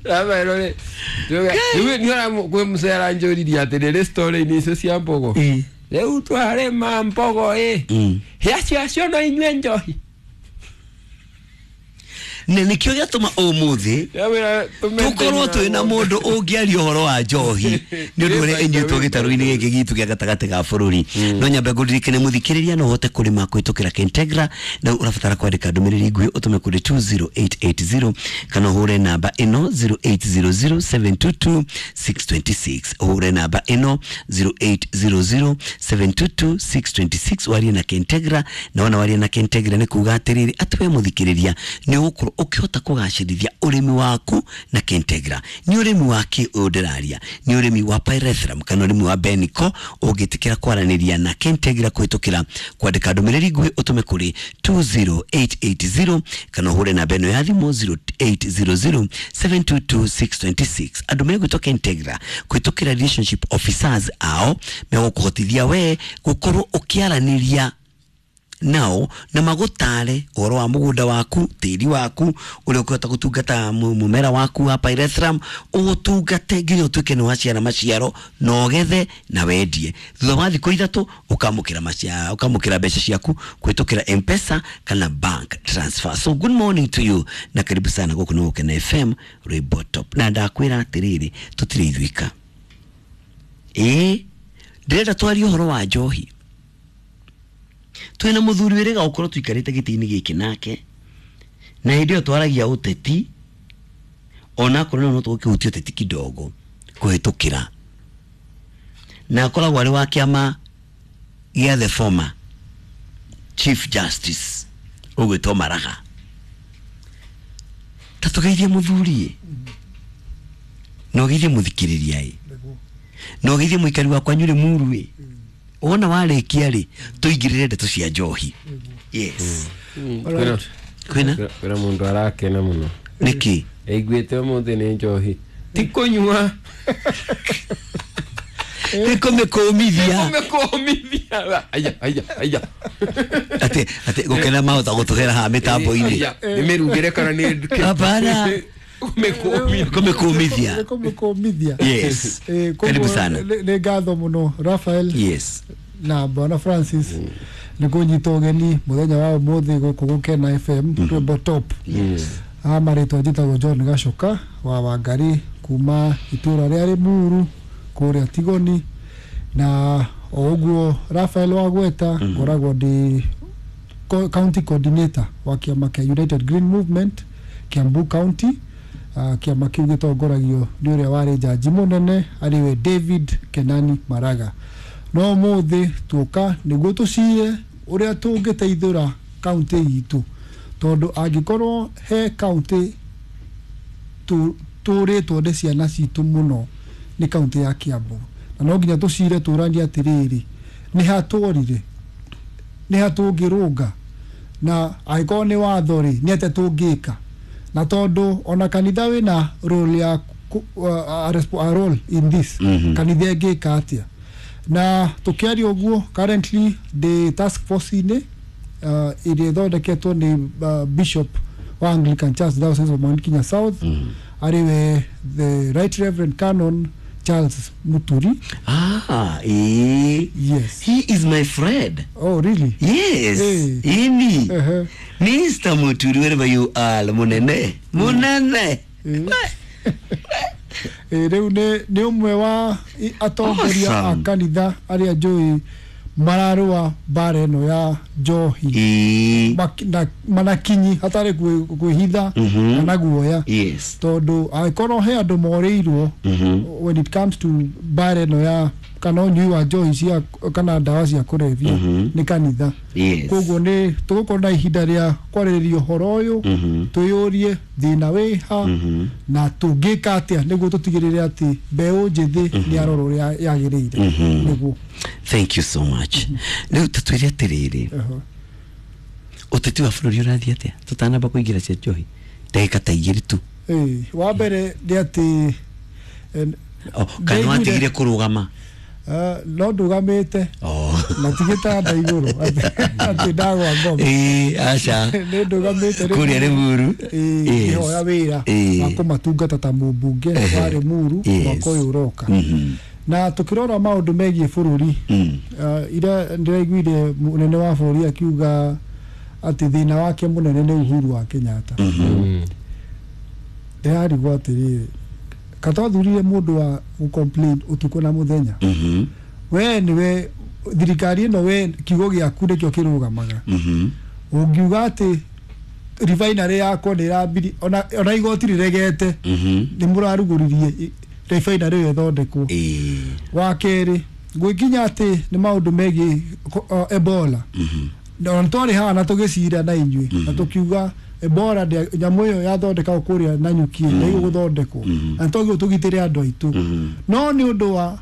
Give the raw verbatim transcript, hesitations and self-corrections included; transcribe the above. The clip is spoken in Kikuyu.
Rafael rĩ nĩ kwĩ mũcera njũririe atĩrĩrĩ story-inĩ icio cia mbogo rĩu twarĩma mbogo ĩ hĩa ciacio no inyue njohi na nikio gĩatũma ũmũthĩ tũkorwo twĩ na mũndũ ũngĩaria ũhoro wa njohi nĩ ũndũ ũrĩa ĩnyuĩtwo gĩtarũ-inĩ gĩkĩ gitũ kĩa gatagatĩ ga bũrũri. No nyambe ngũririkane mũthikĩrĩria no ũhote kũrĩma kũhĩtũkĩra Kentegra na ũrabatara kwandĩka ndũmĩrĩri nguhĩ ũtũme kũrĩ two zero eight eight zero kana ũhũre namba ĩno zero eight zero zero seven two two six two six, ũhũre namba ĩno zero eight zero zero seven two two six two six warie na Kentegra. Na wona warie na Kentegra nĩ kuga atĩrĩrĩ atĩ we mũthikĩrĩria nĩ ũgũkorwo ũkĩhota kũgacĩrithia ũrĩmi waku na Kentegra. Nĩ ũrĩmi wa kĩ ũyũ ndĩraria? Nĩ ũrĩmi wa pyrethrum kana ũrĩmi wa Benico. Ũngĩtĩkĩra kwaranĩria na Kentegra kũhĩtũkĩra kwandĩka ndũmĩrĩri nguhĩ ũtũme kũrĩ two zero eight eight zero kana ũhũre namba ĩno ya thimũ zero eight zero zero seven two two six two six. Andũ megwĩtwo Kentegra kũhĩtũkĩra relationship officers ao megũkũhotithia we gũkorwo ũkĩaranĩria nao na magutare ũhoro wa mũgũnda waku, tĩri waku, ũrĩa ũkũhota gũtungata mũmera waku wa pyrethrum, ũgũtungate nginya ũtuĩke nĩ waciara maciaro na ũgethe na wendie. Thutha wa thikũ ithatũ ũkamũkĩra maciaro, ũkamũkĩra mbeca ciaku kũhĩtũkĩra M-Pesa kana bank transfer. So good morning to you na karibu sana gũkũ nĩ Gũkena F M Rwĩmbo Top. Na ndakwĩra atĩrĩrĩ, tũtirĩ ithuika. Ĩĩ, ndĩrenda twarie ũhoro wa njohi. Twina muthuri wĩrĩga gũkorwo tũikarĩte gĩtĩ-inĩ gĩkĩ nake na hĩndĩ ĩyo twaragia ũteti onakorwo no tũgũkĩhutia ũteti kidogo kũhĩtũkĩra, na akoragwo arĩ wa kĩama gĩa the former Chief Justice ũgwĩtwo Maraga. Ta tũgeithie mũthuri na ũgeithie mũthikĩrĩria ĩ na ũgeithie mũikari wakwa Nyũrĩ Muru ĩ wona warĩkia rĩ tũingĩrĩre ndeto cia njohi. Yes. Kwĩna kwĩna mũndũ arakena mũno. Nĩkĩ? Aiguĩte ũmũthĩ nĩ njohi ti kũnyua nĩ kũmĩkũmithia. Kũmĩkũmithia. Aya aya aya atĩ atĩ gũkena mahota gũtũhera haha mĩtambo-inĩ. Nĩ mĩrugĩre kana nĩ hapana kũmĩkũmithia. Kũmĩkũmithia. Yes. Karibu sana. Nĩ ngatho mũno Raphael. Yes. Na Bwana Francis nĩ kũnyita ũgeni mũthenya wa ũmũthĩ gũkũ Gũkena F M Rwĩmbo Top. Yes. A marĩtwa njĩtagwo John Gacoka wa Wangari kuma itũra rĩa Limuru kũrĩa Tigoni, na o ũguo Raphael wagweta ngoragwo ndĩ county coordinator wa kĩama kĩa United Green Movement Kiambu County. Uh, kĩama kĩu gĩtongoragio nĩ ũrĩa warĩ jaji mũnene arĩwe David Kenani Maraga. No ũmũthĩ tuoka nĩguo tũcire ũrĩa tũngĩteithũra kaunti itũ, tondũ angĩkorwo he kaunti tũrĩtwo nĩ ciana citũ mũno nĩ kaunti ya Kiambu, na no nginya tũcire tũranie atĩrĩrĩ nĩ hatũrire nĩ hatũngĩrũnga, na angĩkorwo nĩ watho rĩ nĩ atĩa tũngĩka, na tondũ ona kanitha wĩna role ya a role in this. Mm-hmm. Kanitha ĩngĩka atĩa? Na tũkĩaria ũguo currently the task force inĩ uh, ĩrĩa ĩthondeketwo nĩ uh, Bishop wa Anglican Church Diocese of Mount Kenya South, mm-hmm. arĩwe the Right Reverend Canon Charles Muturi. Ah, eh. Yes. He is my friend. Oh, really? Yes. Hey. Ini. Uh-huh. Mister Muturi, wherever you are, munene. Munene. Eh, rĩu nĩ nĩ ũmwe wa atongoria a kanitha arĩa njũĩ mararũa mbara ĩno ya njohi manakinyi hatarĩ kwĩhitha kana guoya. Yes. Tondũ angĩkorwo he andũ morĩirwo when it comes to mbara ĩno ya kana ũnyui wa njohi cia kana ndawa cia kũrebia nĩ kanitha. Koguo nĩ tũgũkorwo na ihinda rĩa kwarĩrĩria ũhoro ũyũ, twĩyũrie thĩna wĩ ha na tũngĩka atĩa nĩguo tũtigĩrĩre atĩ mbeũ njĩthĩ nĩ yarorwo ũrĩa yagĩrĩire. Nĩguo. Thank you so much. Rĩu tũtwĩre atĩrĩrĩ, ũteti wa bũrũri ũrathiĩ atĩa tũtanamba kũingĩra cia njohi ndagĩka ta igĩrĩ tu? Wa mbere nĩ atĩ kana watigire kũrũgama? No ndũgamĩte. Na ti gĩtanda igũrũ atĩ ndagwa ngoma. Ĩĩ, aca. Nĩ ndũgamĩte Kũrĩa Limuru. Ĩĩ, Yes. ngĩhoya wĩra Ĩĩ. wa kũmatungata ta mũmbunge wa Limuru Yes. mwaka ũyũ ũroka. Mhm. Na tũkĩrora maũndũ megiĩ bũrũri, Mm. uh, ira ndĩraiguire mũnene wa bũrũri akiuga atĩ thĩna wake mũnene nĩ Uhuru wa Kenyatta. Ndĩrarigwo atĩrĩrĩ, katwathurire mũndũ wa gũ-complain ũtukũ na mũthenya. Mhm. We nĩwe thirikari ĩno, we kiugo gĩaku nĩkĩo kĩrũgamaga. Mhm. Ũngiuga atĩ refinery yakwa nĩ ĩrambiri, ona, ona igoti rĩregete, Mhm. nĩ mũrarugũririe refinery ĩyo ĩthondekwo. Ĩĩ. Wa kerĩ, gwĩkinya atĩ nĩ maũndũ megiĩ ko- uh, Ebola, na twarĩ haha na tũgĩcira na inyuĩ na tũkiuga Ebola ndĩa- nyamũ ĩyo yathondekagwo kũrĩa Nanyuki ndĩgũgũthondekwo, na nĩtwagĩrĩirwo tũgitĩre andũ aitũ. No nĩ ũndũ wa